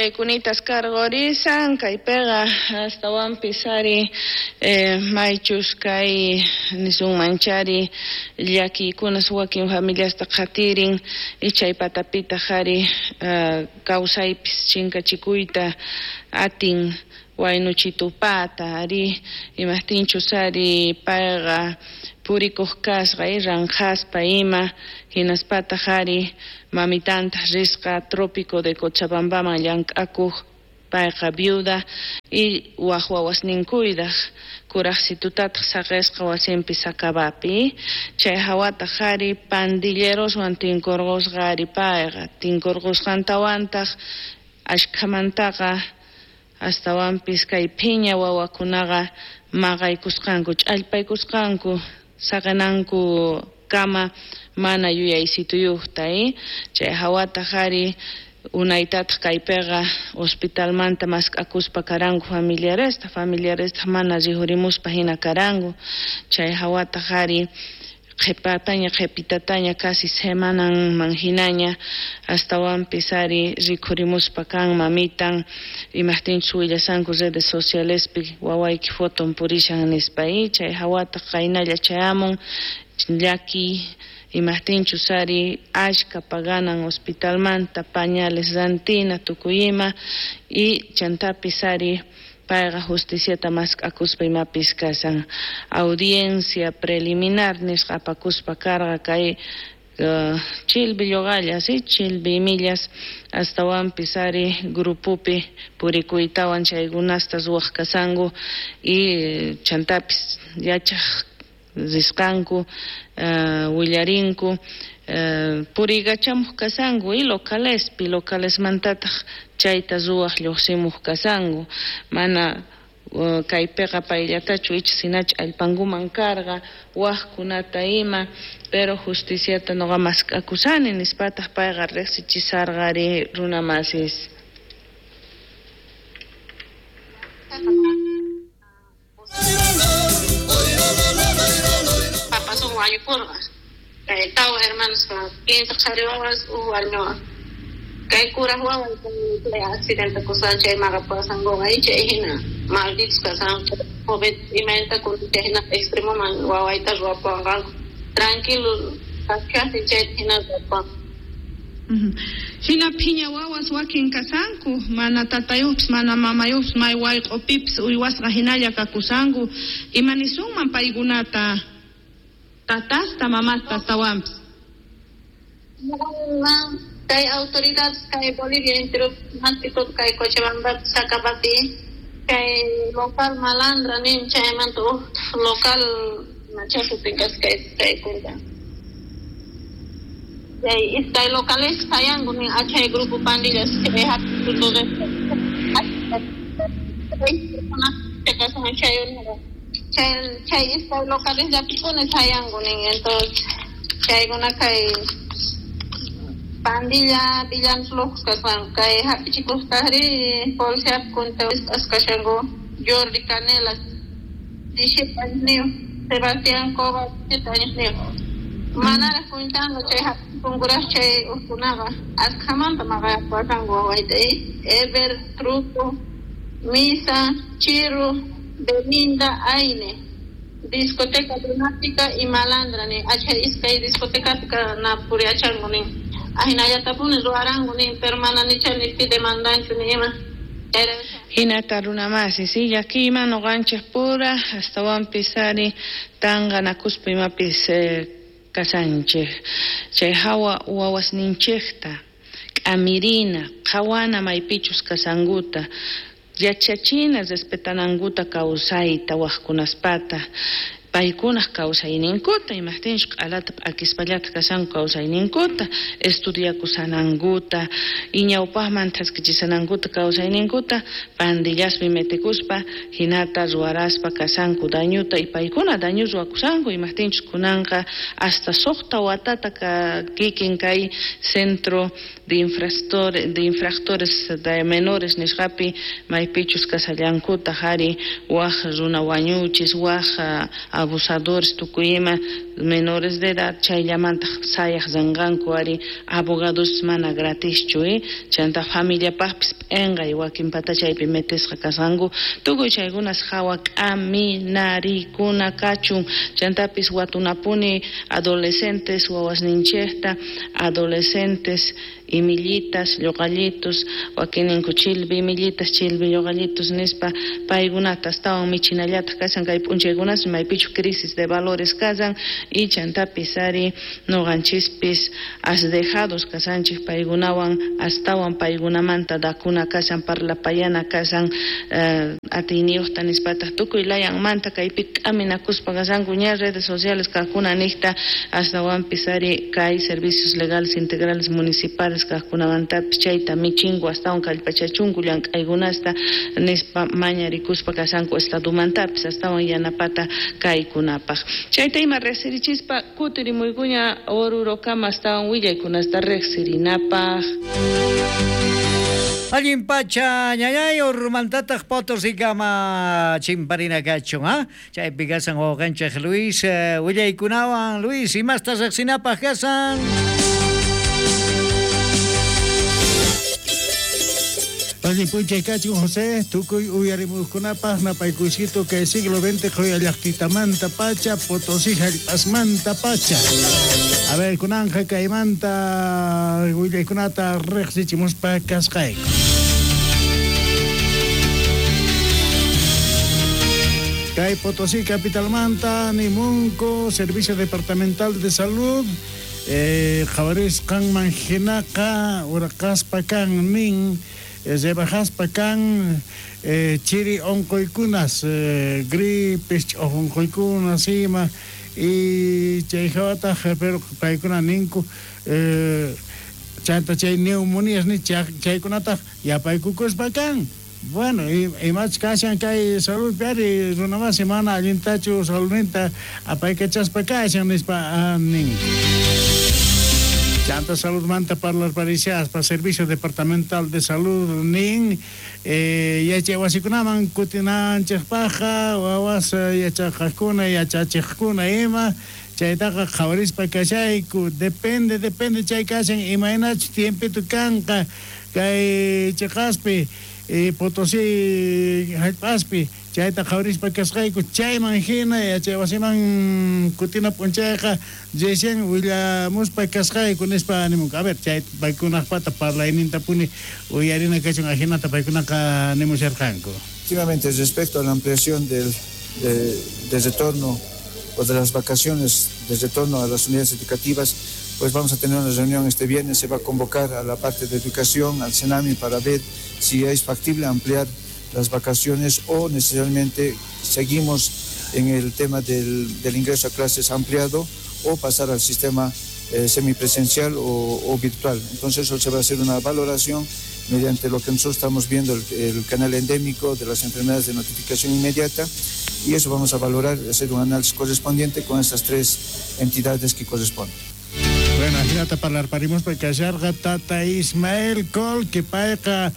Willaykunitas karqurisan kaypiqa astawanpis ari maychus kay nisunmanchari llakiykunas wakin familiasta qhatirin y chay patapitaq ari kawsaypis chinkachikuyta atin waynuchitupata ari imajtinchus ari payqa purikuq kasqa ranqhaspa ima hinaspataq ari mamitantaq risqa Trópico de Cochabambaman llank'akuq payqa viuda y waj wawasninkuydaq kuraqsitutataq saqisqa wasinpi Sacabapi chay hawataq ari pandilleroswan tinkurqusqa ari payqa tinkurqusqantawantaq ashkhamantaqa astawanpis kay phiña wawakunaqa maqaykusqanku ch'allpaykusqanku saqinanku kama mana yuyaysituyuqta chay hawataq ari unaytataq kaypiqa hospitalmanta mask'akuspa karanku familiaresta familiaresta mana rihurimuspa hina karanku chay hawataq ari qhipataña qhipitataña casi semananman hinaña astawanpis ari rikhurimuspa kan mamitan imajtinchus willasanku redes socialespi wawayki foton purishan nispa chay hawataq qaynalla chayamun llakiy imajtinchus ari ashka paganan hospitalmanta pañales rantina tukuy ima y chantapis ari payqa justiciata mask'akuspa imapis kashan audiencia preliminar nisqa apakuspa karqa kay chilbi lluqallas chilbi imillas astawanpis ari grupopi purikuytawan chaykunasta ruwaq kasanku y chantapis yachaq risqanku willarinku puriykachamuq kasanku y localespi localesmantataq chayta ruwaq lluqsimuq kasanku mana kaypiqa payllatachu icha sinachu allpankuman karqa waqkunata ima pero justiciata nuqa mask'akusani nispataq payqa riqsichisarqa ari runa masis. Papasun wañupurqa kay tawa hermanos 15 qhari wawas uj warmi wawa kay kuraj wawa chay accidente kusqan chay maqapasankuqa chay hina malditos kasqanku joven imaynata chay hina extremoman wawayta ruwapuwanqanku tranquilo kashajtin chayta hina ruwapuwanqanku. Hina phiña wawas wakin kasanku mana tatayuqpis mana mamayuqpis may wayq'upipis uywasqa hinalla kakusanku imanisunman paykunata tatasta mamasta astawanpis. Kay autoridades kay Bolivia entero kay Cochabamba Sacabapi kay local malandra nin chaymanta uj local machakupi kasqa kay kunta chay iskay locales hayanku nin achay grupo pandillas chay chay chay iskay locales llapipuni hayanku nin entonces chaykuna kay pandilla villanos locos kasqanku kay hap'ichikusqajri policía kunta kashanku Jordi Canelas 17 añosniyuq Sebastián Cova 7 añosniyuq manaraq kuntanku chay hap'ichikunkuraq chay ujkunaqa askhamanta maqayapuwarqanku wawayta Ever Truco Misa Chiru Belinda Aine discoteca Lunática y Malandra nin achay iskay discotecapi na puriyachanku nin ahinallatapuni ruwaranku nin pero mana nicha ni pi demandanchu ni ima. Hinata runa masi si llakiyman nuqanchik pura astawanpis ari tanqanakuspa imapis kasanchik chay hawa wawasninchikta k'amirina qhawana maypichus kasankuta yachachina respetanankuta kawsayta waqkunaspata paykunaq kawsayninkuta imajtinchus q'alata p'akispallata kashanku kawsayninkuta estudiakusanankuta y ñawpaqman thaskichisanankuta kawsayninkuta pandillaspi metikuspa hinata ruwaraspa kashanku dañuta y paykuna daño ruwakusanku imajtinchus kunanqa hasta suqta watata kikin kay centro de infractores de menores nisqapi maypichus kasallankutaq ari waj runa wañuchis waj abusadores tukuy ima menores de edad chayllamantaq sayaq rinqanku ari abogados mana gratischu chanta familiapaqpis p'enqay wakin patachaypi metisqa kasqanku tukuy chaykunas hawa k'aminarikuna kachun chantapis watunapuni adolescentes wawasninchikta adolescentes imillitas, lloqallitos, wakininku chilbi imillitas, chilbi lloqallitos nispa paykunata astawan michinallataq kashan kay p'unchaykunas maypichu crisis de valores kasan y chantapis ari noqanchispis asdejados kasanchik paykunawan astawan paykunamanta dakuna kashan parlapayana kashan atiyniyuqta nispataq tukuy layanmanta kaypi k'aminakuspa kashanku ña redes sociales kaqkuna niqta astawanpis ari kay servicios legales integrales municipales kaqkunamantapis chayta michinku astawan kallpachachunku llank'aykunasta nispa mañarikuspa kashanku estadomantapis astawan yanapata kaykunapaq chayta ima riqsirichispa kutirimuykuña Orurokama astawan willaykunasta riqsirinapaq. Allin pacha ñañay Oruromantataq Potosikama chimparina kachun, ¿ah? Chaypi kasan wawqanchik Luis willaykunawan. Luis, imasta riqsinapaq kasan? Allin p'unchay kachun José, tukuy uyarimuqkunapaq napaykuysito kay siglo XX qhuyallaqtitamanta pacha, Potosí hallp'asmanta pacha. A ver, kunanja kaymanta willaykunata riqsichimuspa kasqayku. Kay Potosí capitalmanta nimunku Servicio Departamental de Salud qhawarisqanman hinaqa urqaspa kan nin rebajaspa kan chiri onqoykunas gripes onqoykunas ima y chay hawataq pero paykuna ninku chanta chay neumonías ni chaykunataq yapaykukuspa kan. Bueno, imach kashan kay salud ari runamasi mana allintachu saludninta apaykachaspa kashan nispa nin. Chanta saludmanta parlarparishaspa Servicio Departamental de Salud nin yachay wasikunaman kutinanchikpaqqa wawas yachaqaqkuna yachachiqkuna ima chaytaqa qhawarispa kashayku depende chay kashan imaynachu tiempito kanqa kay chiqaspi Potosí hallp'aspi chayta qhawarispa kasqayku chayman hina yachay wasiman kutina p'unchayqa recién willamuspa kasqayku nispa nimunku. A ver, chay paykunaqpata parlaynintapuni uyarina kachun ajinata paykunaqa nimusharqanku. Efectivamente, respecto a la ampliación del retorno o de las vacaciones de retorno a las unidades educativas, pues vamos a tener una reunión este viernes, se va a convocar a la parte de educación, al Senami, para ver si es factible ampliar las vacaciones o necesariamente seguimos en el tema del ingreso a clases ampliado o pasar al sistema semipresencial o virtual. Entonces eso se va a hacer una valoración mediante lo que nosotros estamos viendo, el canal endémico de las enfermedades de notificación inmediata, y eso vamos a valorar, hacer un análisis correspondiente con estas tres entidades que corresponden. Bueno, ajinata parlarparimospa kasharqa tata Ismael Col, que payqa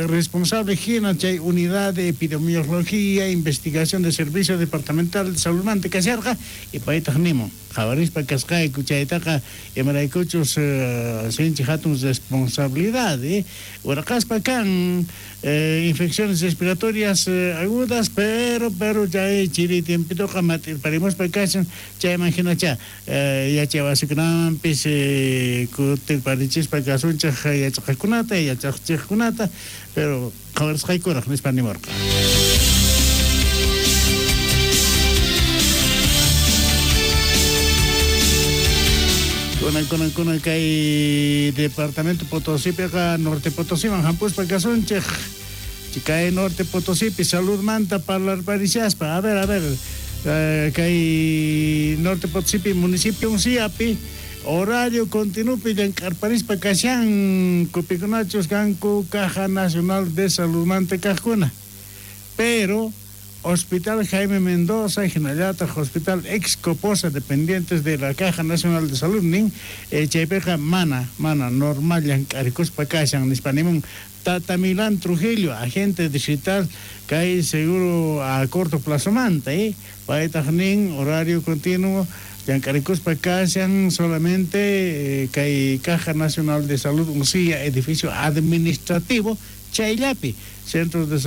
responsable hina chay unidad de epidemiología, investigación de servicio departamental de salud manta kasharqa y paytaq nimun qhawarispa kasqayku chaytaqa imaraykuchus sinchi hatun responsabilidad urqaspa kan infecciones respiratorias agudas, pero chay chiri tiempitoqa mat'irparimuspa kashan chayman hinacha yachay wasikunamanpis kutirparichispa kasunchik yachaqkunata yachaqchiqkunata pero qhawarisqaykuraq nispa nimurqa. Kunan kay departamento Potosípiqa Norte Potosíman hampuspa kasunchik kay Norte Potosípi saludmanta parlarparishaspa. A ver kay Norte Potosípi municipio Unciapi horario continupi llank'arparispa kashan kupikunachus kanku Caja Nacional de Saludmanta kaqkuna, pero Hospital Jaime Mendoza, hinallataq Hospital Ex Coposa, dependientes de la Caja Nacional de Salud nin, chaypiqa mana, mana normal llank'arikuspa kashan nispa nimun Tata Milán Trujillo, agente digital kay seguro a corto plazo manta, paytaq nin horario continuo llank'arikuspa kashan solamente kay Caja Nacional de Salud Uncía, edificio administrativo chayllapi, centros de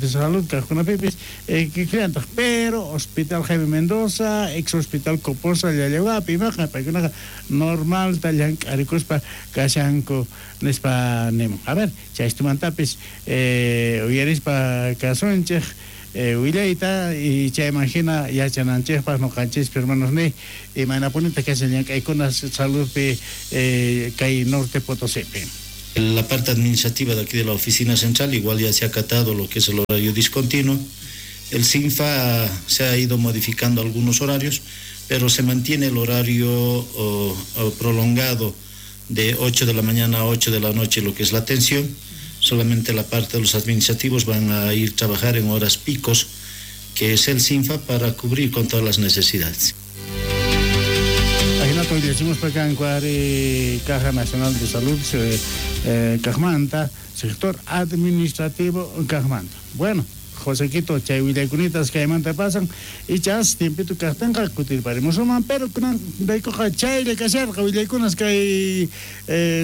salud kajkunapipis kikillantaq, pero Hospital Jaime Mendoza, ex Hospital Coposa Llallawapi imaqa paykunaqa normalta llank'arikuspa kashanku nispa nimun. A ver, chaystumantapis uyarispa kasunchej willayta y chayman hina yachananchejpaq noqanchispi hermanos ni imaynapunita kashan llank'aykuna saludpi kay Norte Potosípi. La parte administrativa de aquí de la oficina central igual ya se ha acatado lo que es el horario discontinuo. El SINFA se ha ido modificando algunos horarios, pero se mantiene el horario prolongado de 8 de la mañana a 8 de la noche, lo que es la atención. Solamente la parte de los administrativos van a ir a trabajar en horas picos, que es el SINFA, para cubrir con todas las necesidades. Decimos Caja Nacional de Salud, Cajmanta, sector administrativo Cajmanta. Bueno, Josequito, chay willaycunitas kaymanta pasan, y chas tiempito kajtinqa kutirparimusunman, pero kunan raykuqa chaylla kasharqa willaykunas kay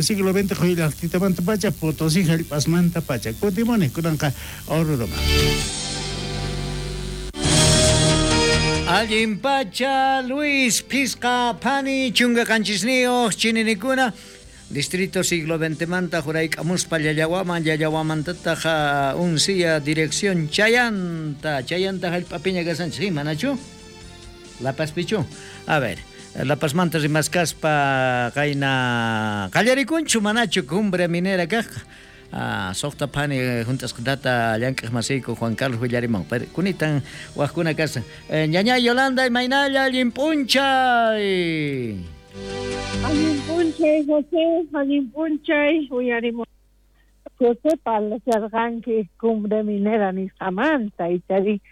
siglo XX quyllaqtitamanta pacha, Potosí hallp'asmanta pacha. Kutimuni kunanqa Oruroman. Allin pacha, Luis, Pisqa, Phani, chunka qanchisniyuq, chininikuna, Distrito siglo XX manta jurayk'amuspa Llallawaman, Llallawamantataq Uncía dirección Chayanta, Chayanta hallp'apiña kasanchis, manachu? La Pazpichu. A ver, La Pazmanta rimaskaspa qayna qallarikunchu manachu cumbre minera kajqa. Soqta phani juntasqatata llank'aq masiyku Juan Carlos willariman. Pero kunitan wajkuna kasan. Ñaña Yolanda imaynalla allin p'unchay. Allin p'unchay José, allin p'unchay uyarimu. José parlasharqanki cumbre minera nisqamanta ichari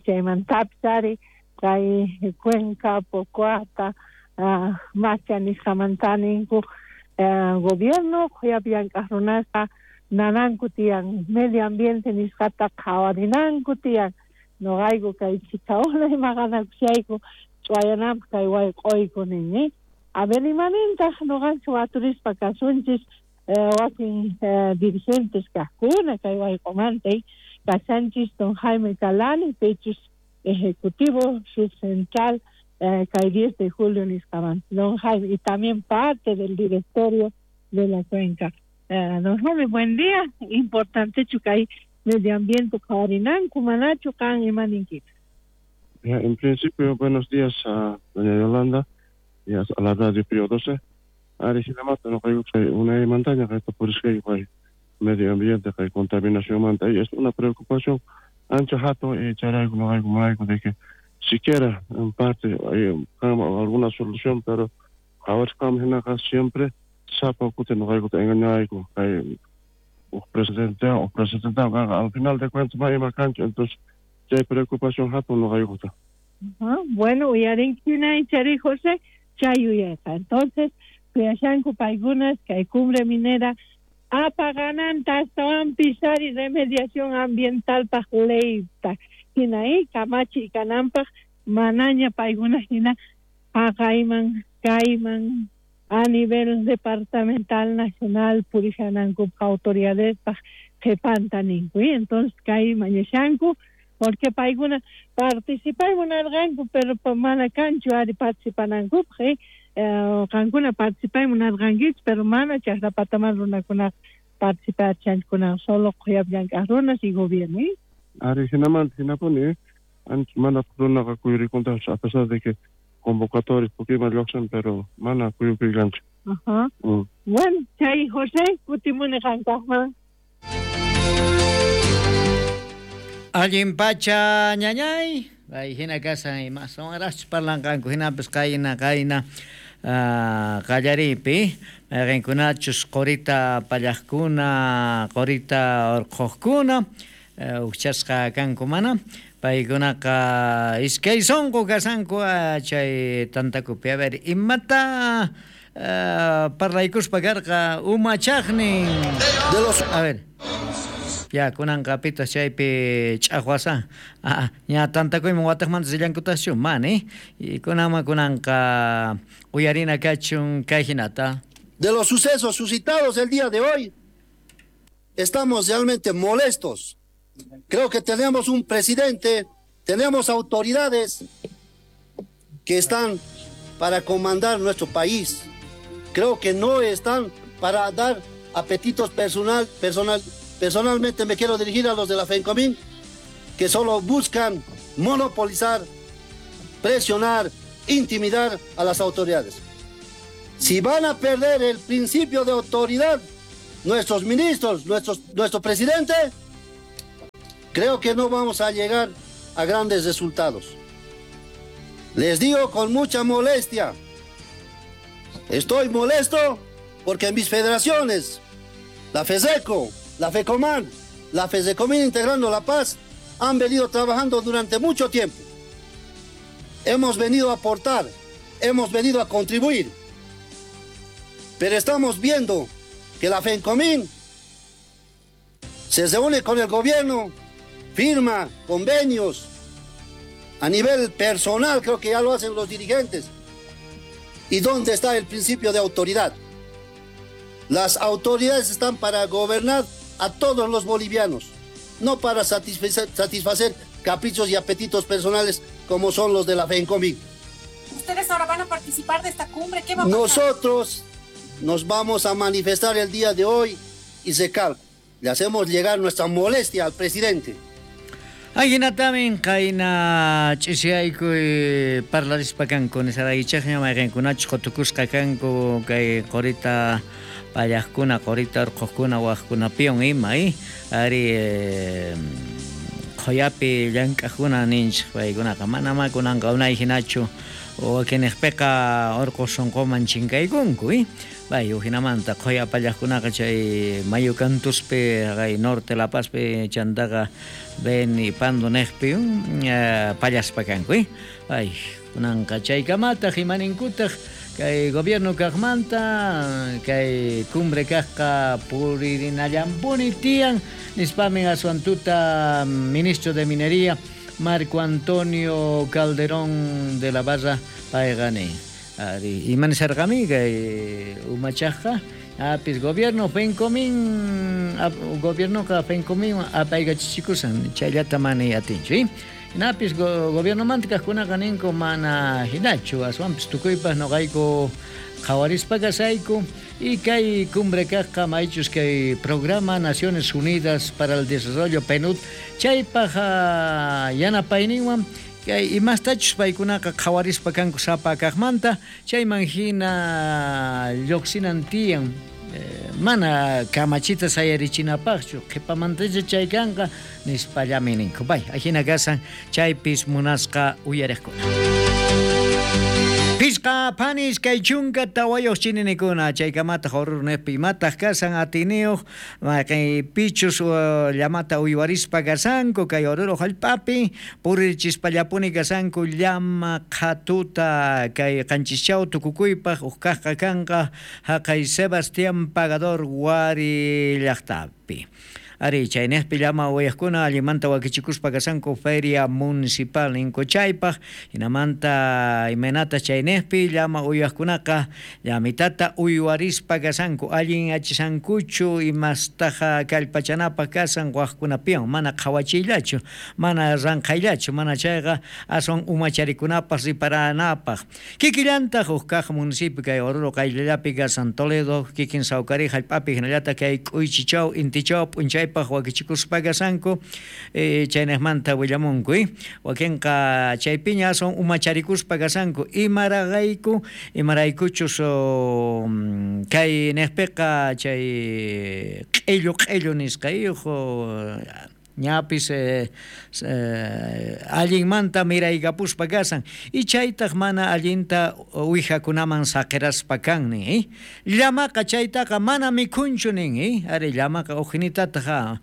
chaymantapis ari kay Cuenca, Pocoata, Macha nisqamanta ninku gobierno qhuyapi llank'aq runasqa nananku tiyan medio ambiente nisqata qhawarinanku tiyan noqayku kay chikawna maqanakushayku ch'uwayananpaq kay wayq'uyku nin. A ver imanintaq noqanchik waturispa kasunchis wakin dirigentes kaqkuna kay wayq'umanta kashanchis don Jaime Calani pichus ejecutivo subcentral kay 10 de julio nisqamanta don Jaime, y también parte del directorio de la cuenca. Don Jaime, buen día. Importante kay medio ambiente qhawarinanku manachu qan imaninkita. En principio, buenos días a doña Yolanda y a la radio Pío 12. Ari hinamanta noqayku unay montaña kayta purisqayku kay medio ambiente kay contaminación manta, y es una preocupación ancha hatun y chayrayku noqayku munayku de que siquiera en parte hay alguna solución, pero qhawasqam hinaqa siempre sapa kuti noqaykuta engañayku kay presidente o presidente al final de cuentas ma ima kanchu, entonces chay preocupación hatun noqaykuta. Bueno, uyarinkina ichari José chay uyayqa. Entonces kuyashanku paykunas kay cumbre minera apagananta astawanpis ari remediación ambientalpaq leyta hina kamachi kananpaq manaña paykuna hina haqayman kayman a nivel departamental nacional purishanankup autoridadespaq qhipanta ninku. Entonces kay mañashanku porque paykuna participay munarqanku pero mana kanchu ari participanankupaq qankuna participay munarqankichis pero mana chaqrapataman runakunaqa participachankunan solo qhuyap llank'aq runas y gobierno. Ari hinamanta hinapuni ancha mana runaqa kuyurikuntachu a pesar de que convocatorias pukima lluqsin pero mana kuyukuykanchu. Ajá. Bueno, chay José kutimuni qankaqman. Allin pacha ñañay, ay hina kasan imaswanraqchus parlanqanku hinapis qayna qallaripi mayqinkunachus qurita pallaqkuna, qurita urqhuqkuna, Ujchasqa kanku mana paykunaqa iskay sunqu kashanku chay tantakupi. A ver, imata parlaykuspa karqa umachaqnin. A ver. Ya, kunanqa pitaq chaypi ch'aqwasa. Ña tantakuyman wataqmanta rillankutaqchu? Mana, y kunanman kunanqa uyarina kachun kay hinata. De los sucesos suscitados el día de hoy, estamos realmente molestos. Creo que tenemos un presidente, tenemos autoridades que están para comandar nuestro país. Creo que no están para dar apetitos personal, personal. Personalmente me quiero dirigir a los de la FENCOMIN, que solo buscan monopolizar, presionar, intimidar a las autoridades. Si van a perder el principio de autoridad, nuestros ministros, nuestro presidente, creo que no vamos a llegar a grandes resultados. Les digo con mucha molestia, estoy molesto porque mis federaciones, la FESECO, la FECOMAN, la FESECOMIN Integrando la Paz, han venido trabajando durante mucho tiempo. Hemos venido a aportar, hemos venido a contribuir, pero estamos viendo que la FENCOMIN se reúne con el gobierno, firma convenios a nivel personal, creo que ya lo hacen los dirigentes. ¿Y dónde está el principio de autoridad? Las autoridades están para gobernar a todos los bolivianos, no para satisfacer caprichos y apetitos personales como son los de la FENCOMIN. ¿Ustedes ahora van a participar de esta cumbre? ¿Qué va a pasar? Nosotros nos vamos a manifestar el día de hoy y recalco, le hacemos llegar nuestra molestia al presidente. Ajinatamin qayna ch'isiyaykuy parlarispa kanku nisaraychaqña mayqinkunachus qutukusqa kanku kay qurita pallaqkuna, qurita urquqkuna, waqkunapiwan ima, ari qhuyapi llank'aqkuna ninchik paykunaqa manamá kunanqa unay hinachu wakinniqpiqa urqu sunquman chinkaykunku, Bay, ujinamanta qhuya pallaqkunaqa chay mayu kantuspi, haqay norte La Pazpi chantaqa Beni Pando niqpi pallaspa kanku, Bay, kunanqa chaykamataq imaninkutaq kay gobierno kaqmanta kay cumbre kaqqa puririnallampuni tiyan nispamin aswan tuta ministro de Minería Marco Antonio Calderón de la Barra payqa nin. Ari, imanisarqami kay umachaqqa apis gobierno FENCOMIN gobiernoqa FENCOMIN apaykachichikusan chayllata mana atinchu, Hinapis gobiernomanta kaqkunaqa ninku mana hinachu aswanpis tukuypaq noqayku qhawarispa kasayku y kay cumbre kaqqa maychus kay programa Naciones Unidas para el Desarrollo PNUD chaypaq yanapayninwan kay imastachus paykunaqa qhawarispa kanku sapa kaqmanta chayman hina lluqsinan tiyan mana kamachita sayarichinapaqchu qhipamantacha chay kanqa nispallami ninku. Bay, ajina kasan chaypis munasqa uyariqkuna. Pisqa panis kay chunka tawayuq chininikuna chaykamataq Oruro niqpi imataq kasan atiniyuq mayqinpichus llamata uywarispa kasanku kay Oruro hallp'api purirchispallapuni kasanku llama qhatuta kay qanchischaw tukukuypaq uq kaqqa kanqa haqay Sebastián Pagador Wari llaqtapi. Ari, chayniqpi llama uyaqkuna allimanta wakichikuspa kasanku feria municipal ninku chaypaq hinamanta imaynata chayniqpi llama uyaqkunaqa llamitata uywarispa kasanku allin achisankuchu imastaqa kallpachanapaq kasan waqkunapiwan mana qhawachiyllachu mana ranqhayllachu mana chayqa aswan umacharikunapaq riparanapaq kikillantaq huk kaq municipio kay Oruro qayllallapi kasan Toledo kikin Sawkari hallp'api hinallataq kay K'uychichaw Intichaw p'unchay wakichikuspa kasanku chayniqmanta willamunku wakinqa chaypiña aswan umacharikuspa kasanku imarayku imaraykuchus kay niqpiqa chay q'illu q'illu nisqa Ñapis allinmanta miraykapuspa kasan y chaytaq mana allinta uwijakunaman saqiraspa kan nin. Llamaqa chaytaqa mana mikhunchu nin. Ari llamaqa ujinitataq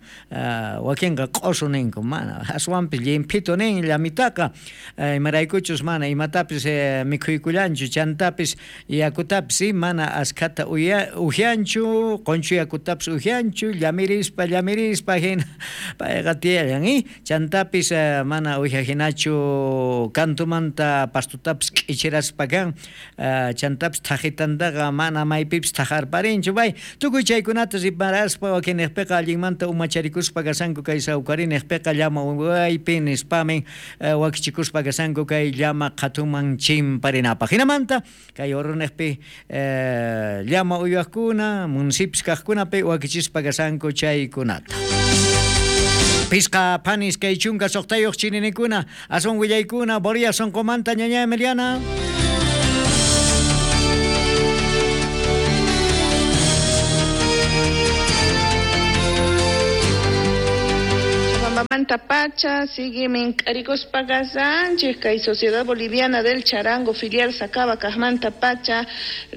wakinqa q'usu ninku, mana aswanpis llimphitu nin llamitaqa, imaraykuchus mana imatapis mikhuykullanchu, chantapis yakutapis mana askhata ujyanchu, qunchu yakutapis ujyanchu, llamirispa llamirispa hina payqa tiyallan, chantapis mana uwija hinachu kantumanta pastutapis k'ichiraspa kan, chantapis thajitantaqa mana maypipis thajarparinchu, pay tukuy chaykunata riparaspa wakinniqpiqa allinmanta umacharikuspa kasanku kay sawkariniqpiqa llama uywaypi nispamin wakichikuspa kasanku kay llama qhatuman chimparinapaq. Hinamanta kay Orroniqpi llama uywaqkuna municipios kaqkunapi wakichispa kasanku chaykunata. Pisqa phanis kay 16 chininikuna aswan willaykuna Boria sonqomanta ñaña Emiliana. Manta pacha sigue mink'arikuspa kasanchik kay Sociedad Boliviana del Charango filial Sacaba kajmanta pacha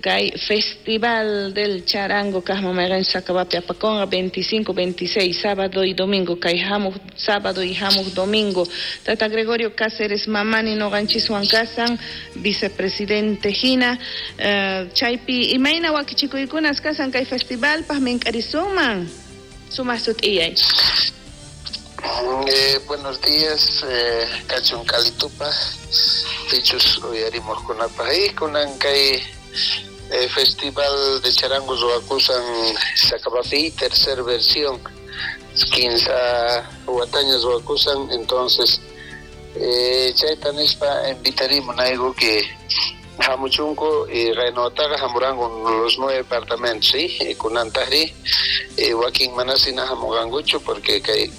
kay Festival del Charango kajma mayqen Sacabapi apakonqa 25, 26 sábado y domingo kay hamuq sábado y hamuq domingo. Tata Gregorio Cáceres Mamani noqanchiswan kasan vicepresidente hina chaypi imayna wakichikuykunas kasan kay festivalpaq mink'arisunman sumaq sut'iyay. Buenos días, kachun kalitupa, pichus uyarimujkunapaj y kunan kay Festival de Charango ruwakusan Sacabapi, tercer versión, 15 wataña ruwakusan, entonces chayta nispa invitarimu nayku que hamuchunku y qaynotaqa hamuranku los 9 departamentos, ¿sí? Kunantajri wakin manasina hamuqankuchu porque kay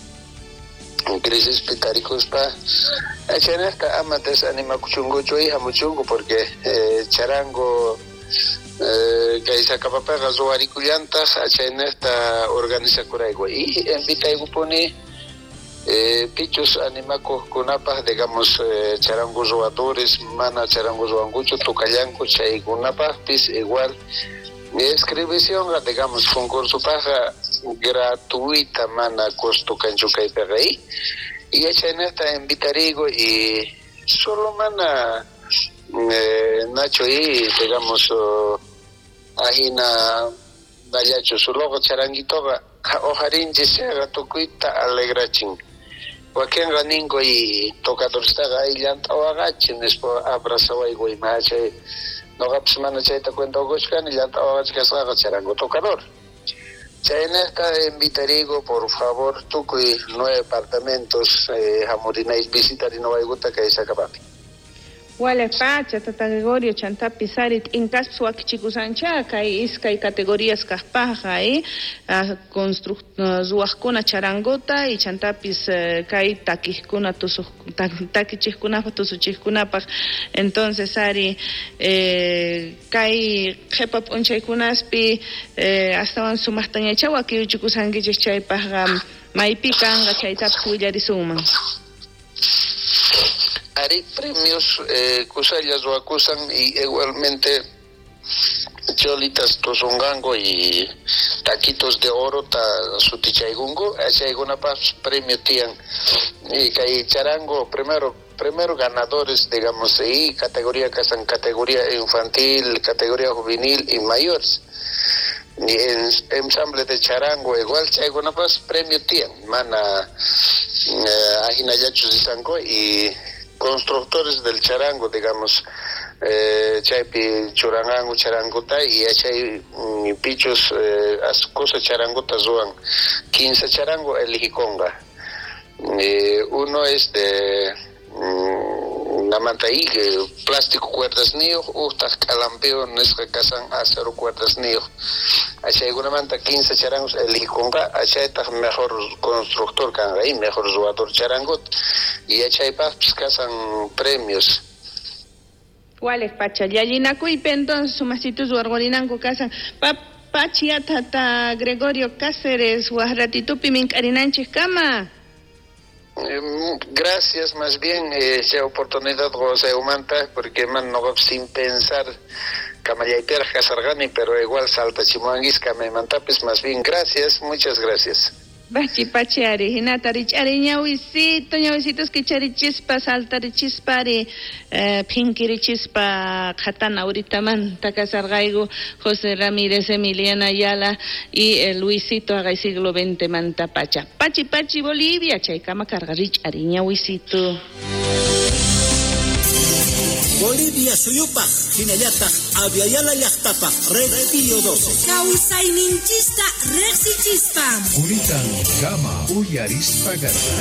crisis pitarikuspa chaynaqta ama desanimakuchunkuchu y hamuchunku porque charango kay Sacapapiqa ruwarikullantaq chaynaqta organizakurayku y invitaykupuni pichus animakuqkunapaq digamos charango ruwadores mana charango ruwankuchu tukallanku chaykunapaqpis igual inscripción digamos concursopaqqa gratuita mana costo kanchu kaypiqa y chaynaqta invitarigo y solo mana Nacho y digamos ajina dallachu soloqa charanguitoqa hojarinchis chayqa tukuyta alegrachin wakinqa ninku y tocadorstaqa ayllanta waqachin nispa abrazawayku ima chay noqapis mana chayta cuenta uqushkani llanta waqachi kasqaqa charango tocador. Chaynaqta invitarigo por favor tukuy 9 departamentos hamurinay visitarinawaykutta kay Sacapapi. Wale pacha, Tata Gregorio, chantapi sarit, inkaspas wakichikusancha, kay iskay categorías kajpaja, ruwaqkuna charanguta y chantapis kay takijkuna takichijkunapaj tusuchijkunapaj. Entonces ari kay qhipa p'unchaykunaspi astawan sumaqtañacha wakichikusankichik chaypajqa maypi kanqa chaytapis willarisunman. Ari premios kusalla ruwakusan y igualmente cholitas tusungango y taquitos de oro ta sutichaykunku chaykunapaq premio tiyan y kay charango primero ganadores digamos y categoría kasan categoría infantil, categoría juvenil y mayores y en ensamble de charango igual chaykunapas premio tiyan mana ajinallachus risanku y constructores del charango, digamos, chaypi churangangu charanguta y chay pichos cosa charanguta ruwan 15 charango elijikonga. Uno es de namanta y plástico cuerdas niyuq utaq k'alampeo nisqa kasan acero cuerdas niyuq chaykunamanta 15 charangos elijikonqa chaytaq mejor constructor kanqa y mejor ruwador charangot y chaypaqpis kasan premios. ¿Cuál pacha? Llallinakuypi entonces sumasitus warwarinanku kasan pachi tata Gregorio Cáceres waq ratitupi mink'arinanchik kama. Gracias más bien esa oportunidad humanta porque man no sin pensar kamallaypiraj kasarqani pero igual saltachimuanguis kamaymantapis más bien gracias, muchas gracias. Pachi pachi ari, hinata rich'ari ñawisito, ñawisitos kicharichispa, saltarichispari, phinkirichispa, qhatana uritamanta kasarqayku José Ramírez, Emiliana Ayala y el Luisito haqay siglo XX manta pacha. Pachi pachi Bolivia, chaykama karqa rich'ari ñawisito. Bolivia suyupaj, hinallataq Abya Yala llaqtapaj, Red Pío 12. Kawsayninchista riqsichispa. Kuritan kama uyarispa garra.